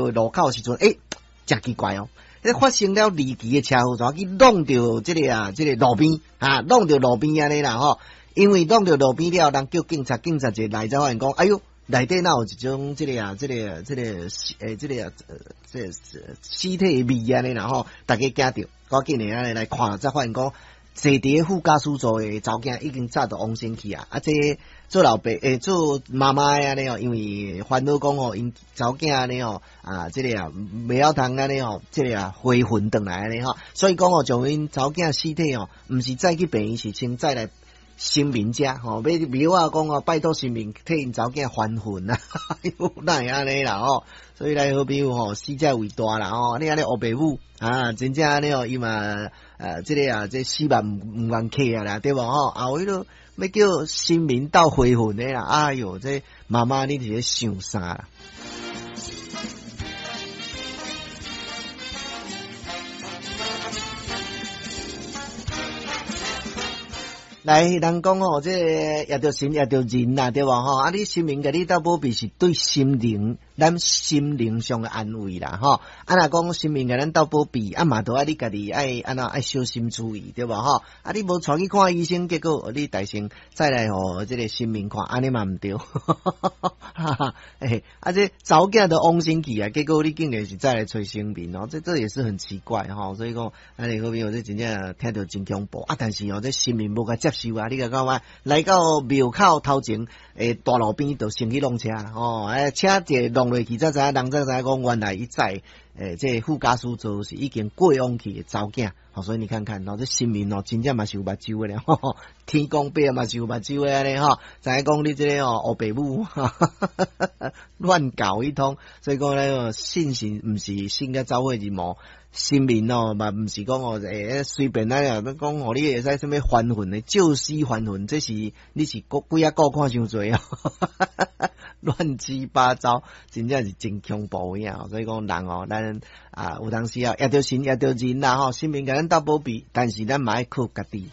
路口時陣，欸，誠奇怪哦！發生了離奇的車禍，怎去挵著這个啊，這个路邊啊，挵著路邊按呢啦吼。因為挵著路邊了，人叫警察，警察一來才發現講，哎喲，內底哪有一種這个啊，這个這个欸，這个啊，這個屍體的味按呢啦吼，逐家驚著，趕緊的按呢來看，才發現講，坐佇副駕駛座的查某囝已經早就往生去啊！啊，這做老爸欸，做媽媽的按呢哦，因為煩惱講吼，𪜶查某囝按呢哦，啊，這个啊，袂曉通按呢吼，這个啊，回魂轉來按呢吼，所以講吼，將𪜶查某囝屍體哦，毋是載去病院，是先載來神明遮吼，欲廟仔講哦，拜託神明替𪜶查某囝還魂啊！哪會按呢啦吼？所以來好朋友吼，死者為大啦吼，你按呢烏爸母啊，真正按呢哦，伊嘛這个啊，這死嘛毋願客啊啦，對無吼？啊，有彼落欲叫神明鬥回魂的啦，哎喲，這媽媽你佇咧想啥啦？來，人講吼，這個謁著神，謁著人啦，對無吼？啊，你神明共你鬥保庇是對心靈，咱心靈上的安慰啦，吼。啊，若講神明共咱鬥保庇，啊嘛，都愛你家己愛按怎愛小心注意，對無吼？啊，你無帶去看醫生，結果你代先再來予這個神明看，按呢嘛毋對。哈哈，欸，啊，這查某囝都往生去啊，結果你竟然是再來揣神明哦，這也是很奇怪吼。所以講，啊，你好朋友這真正聽著真恐怖啊！但是哦，這神明無共接受啊！你共看覓？來到廟口頭前，欸，大路邊就先去挵車吼，欸，車一挵落去，才知影人才知影講，原來伊載欸，這個副駕駛座是已經過往去的查某囝，吼，所以你看看哦，這神明哦，真正嘛是有目睭的咧，天公伯嘛是有目睭的按呢吼，知影講你這个哦，烏爸母，亂搞一通，所以講咧，信神毋是信甲走火入魔。神明哦，嘛毋是講哦，欸，隨便來啊，講予你會使啥物還魂的，借屍還魂，這是你是顧鬼仔顧看傷濟哦，亂七八糟，真正是真恐怖影。所以講人哦，咱啊有當時啊，謁著神謁著人啦吼，神明共咱鬥保庇，但是咱嘛愛靠家己。